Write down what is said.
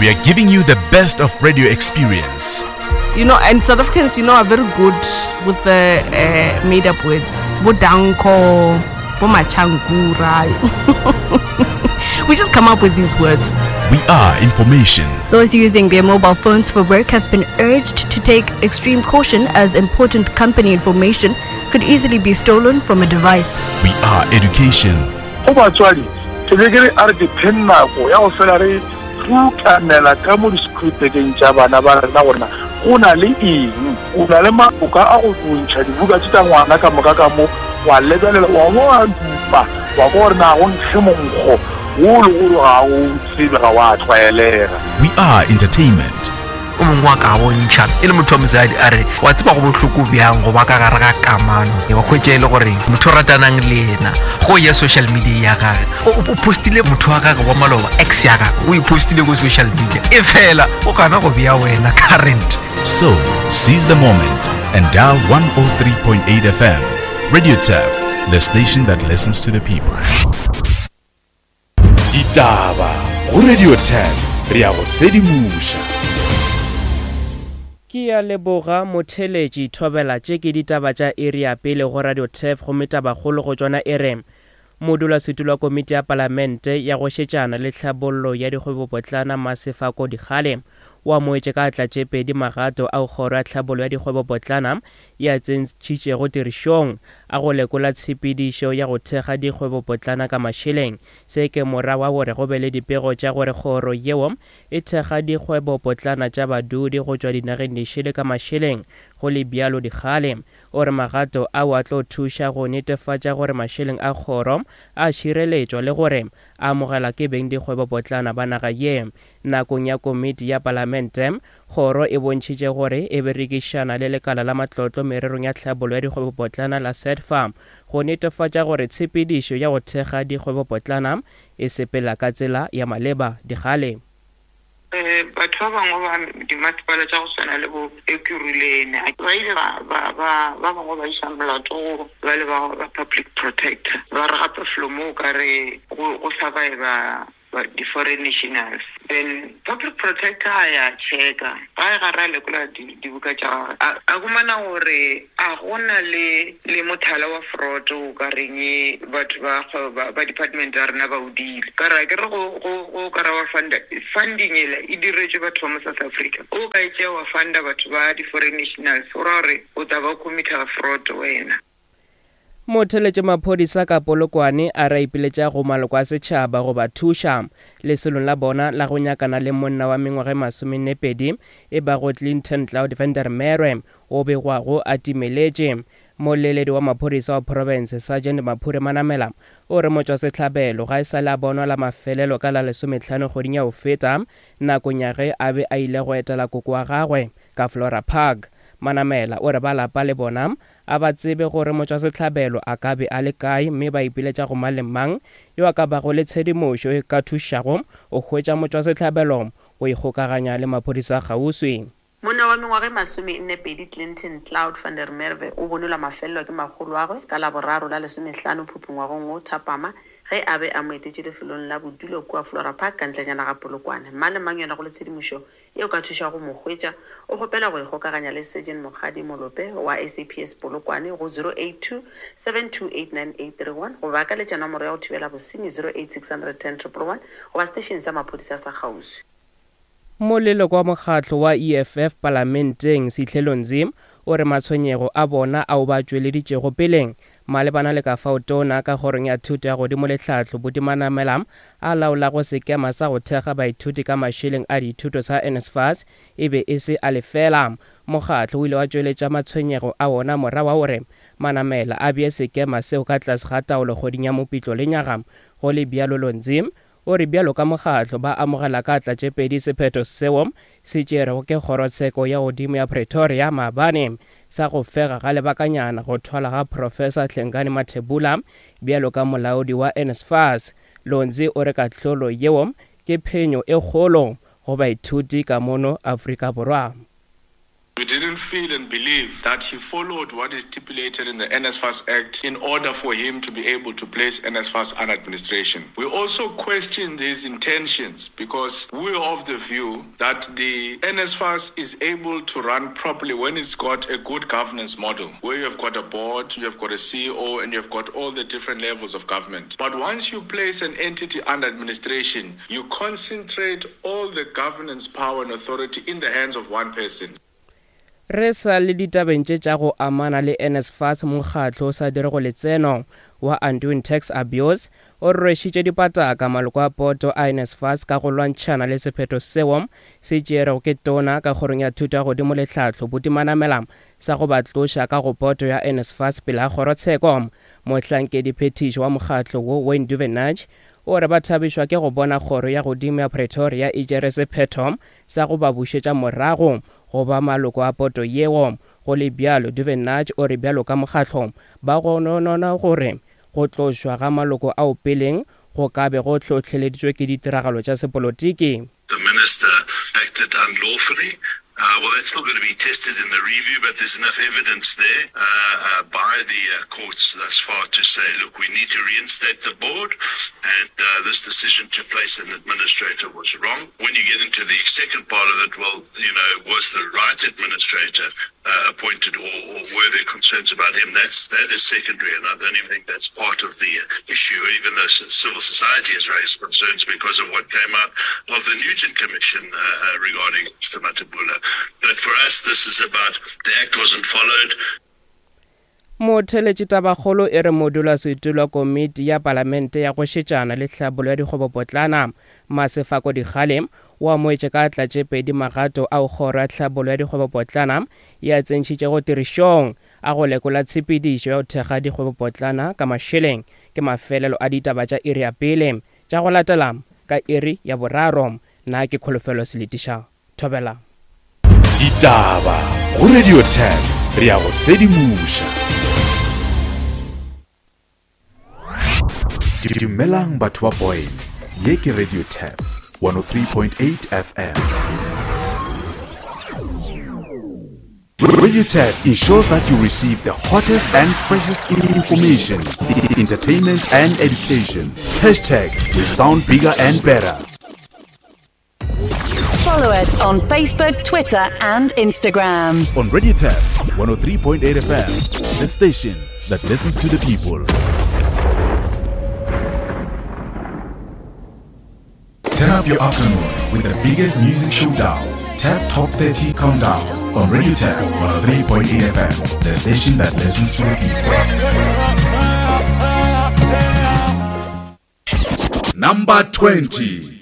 We are giving you the best of radio experience. You know, and South Africans, you know, are very good with the uh, made up words. Bodanko, Bomachankura. we just come up with these words. We are information. Those using their mobile phones for work have been urged to take extreme caution as important company information could easily be stolen from a device. We are education. Go batswadi, ke be ke re a re ke pheng nako ya go fela re rutanela ka mo di-schoolbageng tša bana ba rena gore na go na le eng. O na le maloka a go ntšha dibuka tše tša ngwana ka moka ka mo, wa lebelela, wa bo wa dupa, wa kwa gore na go nkge monkgo wo le gore ga o tsebe, ga wa tlwaelega. We are entertainment. O mongwe wa ka bontšha e le motho wa mosadi a re, Wa tseba go bohloko bjang go ba ka gare ga kamano, wa hwetša e le gore motho o ratanang le yena go ya social media ya gage o postile motho wa gage wa maloba, ex ya gage o e postile ko social media, e fela o gana go bea wena current. So, seize the moment and dial 103.8 FM. Radio Turf, the station that listens to the people. Ditaba go Radio 10 re ya go sedimoša. Ke ya leboga motheletši thobela tše ke ditaba tša iri ya pele go Radio Turf gomme tabakgolo go tšona e re Modulasetulo wa komiti ya palamente ya go šetšana le tlhabollo ya dikgwebopotlana Masefako Dikgale o amogetše ka atla tše pedi magato ao kgoro ya tlhabollo ya dikgwebopotlana e a tsentšhitšego tirišong a go lekola tshepedišo ya go thekga dikgwebopotlana ka mašeleng. Se ke morago ga gore go be le dipego tša gore kgoro yeo e thekga dikgwebopotlana tša badudi go tšwa dinageng dišele ka mašeleng. Go le bjalo, Dikgale o re magato ao a tlo thuša go netefatša gore mašeleng a kgoro a šireletšwa le gore a amogelwa ke bengdikgwebopotlana ba naga ye. Nakong ya komiti ya palamente, Kgoro e bontšhitše gore e berekišana le lekala la matlotlo mererong ya tlhabollo ya dikgwebopotlana la SEDFA go netefatša gore tshepedišo ya go thekga dikgwebopotlana e sepela ka tsela ya maleba. Dikgale. Batho ba bangwe ba dimasepala tša go swana le bo Ekurhuleni ba ile ba ba ba ba bangwe ba iša molato go ba le ba ba public protector ba re gape felo mo o ka re go go surviva di-foreign nationals. Then public protector a ya checka ga e gare a lekola dibuka tša gagwe a a humana gore a gona le le mothala wa fraud o ka reng batho ba kgwebo ba ba department ya rena ba o dile. Ka re akere go go go ka ra wa funda funding ela e diretšwe batho ba mo South Africa o ka e tšea wa funda batho ba di-foreign nationals go ra gore o tla ba o committer fraud wena. Motheletše maphodisa ka Polokwane a re a ipiletša go maloko a setšhaba go ba thuša lesolong la bona la go nyakana le monna wa mengwaga e masomennepedi e bago Clinton Cloud van der Merwe wo begwago a timeletše. Moleledi wa maphodisa wa profense Sergeant Maphure Manamela o re motšwasehlabelo ga e sa le a bonwa la mafelelo ka la lesomehlano kgweding ya go feta nakong ya ge a be a ile go etela koko wa gagwe ka Flora Park. Manamela o re ba lapa le bona A ba tsebe gore motšwasehlabelo a ka be a le kae mme ba ipiletša go mang le mang yo a ka bago le tshedimošo e ka thušago go hwetša motšwasehlabelo go ikgokaganya le maphodisa a kgauswi. Monna wa mengwaga e masomennepedi Clinton Cloud van der Merwe o bonwe la mafelelo ke makgoloagwe ka Laboraro la lesomehlano Phupu ngwagong wo thapama ge a be a mo etetše lefelong la bodulo kua Flora Park ka ntlenyana ga Polokwane. Mang le mang yo a nago le tshedimošo Ye o ka thušago go mo hwetša, o kgopela go ikgokaganya le Sergeant Mokgadi Molope wa SAPS Polokwane go 082 728 9831 goba a ka letša nomoro ya go thibela bosenyi 08 610 111 goba setešeng sa maphodisa sa kgauswi. Moleloko wa mokgatlo wa EFF palamenteng, Sihle Nzi, o re matshwenyego a bona ao ba tšweleditšego peleng Malebana le ka fao Tona ka Kgorong ya Thuto ya Godimo le Tlhahlo, Buti Manamela, a laolago sekema sa go thekga baithuti ka mašeleng a dithuto sa NSFAS e be e se a lefeela. Mokgatlo o ile wa tšweletša matshwenyego a wona morago ga gore Manamela a bee sekema seo ka tlase ga taolo kgweding ya Mopitlo lenyaga. Go le bjalo Lonzi O re bjalo ka mokgatlo ba amogela ka atla tše pedi sephetho seo se tšerwego ke Kgorotsheko ya Godimo ya Pretoria maabane sa go fega ga lebakanyana go thwalwa ga Professor Hlengani Mathebula bjalo ka molaodi wa NSFAS. Lonzi o re kahlolo yeo ke phenyo e kgolo go baithuti ka mono Afrika Borwa. We didn't feel and believe that he followed what is stipulated in the NSFAS Act in order for him to be able to place NSFAS under administration. We also questioned his intentions because we are of the view that the NSFAS is able to run properly when it's got a good governance model, where you have got a board, you have got a CEO, and you have got all the different levels of government. But once you place an entity under administration, you concentrate all the governance power and authority in the hands of one person. Re sa le ditabeng tše tša go amana le NSFAS, mokgatlo o sa dirego letseno wa Undoing Tax Abuse o rwešitše dipataka maloko a poto a NSFAS ka go lwantšhana le sephetho seo se tšeerego ke Tona ka Kgorong ya Thuto ya Godimo le Tlhahlo Buti Manamela sa go ba tloša ka go poto ya NSFAS pele ga kgorotsheko. Mohlankediphethiši wa mokgatlo wo Wayne Duvenage o re ba thabišwa ke go bona Kgoro ya Godimo ya Pretoria e tšere sephetho sa go ba bušetša morago go ba maloko a poto yeo. Go le bjalo, Duvenage o re bjalo ka mokgatlo, ba gononona gore go tlošwa ga maloko ao peleng go ka be go hlohleleditšwe ke ditiragalo tša sepolotiki. The minister acted unlawfully. Uh, well, that's still going to be tested in the review, but there's enough evidence there uh, uh, by the uh, courts thus far to say, look, we need to reinstate the board, and uh, this decision to place an administrator was wrong. When you get into the second part of it, well, you know, was the right administrator uh, appointed or, or were there concerns about him? That's, that is secondary, and I don't even think that's part of the issue, even though civil society has raised concerns because of what came out of the Nugent Commission uh, uh regarding Mr. Matabula. But for us, this is about the act wasn't followed. Motheletši Tabakgolo e re modulasetulo wa komiti ya palamente ya go šetšana le tlhabollo ya dikgwebopotlana, Masefako Dikgale, o amoetše ka atla tše pedi magato ao kgoro ya tlhabollo ya dikgwebopotlana e a tsentšhitšego tirišong a go lekola tshepedišo ya go thekga dikgwebopotlana ka mašeleng. Ke mafelelo a ditaba tša iri ya pele tša go latela ka iri ya boraro. Na ke Kholofelo Seletiša. Thobela. Ditaba go Radio 10 re ya go sedimoša. Dumelang batho ba Boyne, ye ke Radio 10 103.8 FM. Radio 10 ensures that you receive the hottest and freshest information, entertainment and education. Hashtag we sound bigger and better. Follow us on Facebook, Twitter, and Instagram. On Radio Tap 103.8 FM, the station that listens to the people. Turn up your afternoon with the biggest music showdown. Tap Top 30 Countdown on Radio Tap 103.8 FM, the station that listens to the people. Number 20.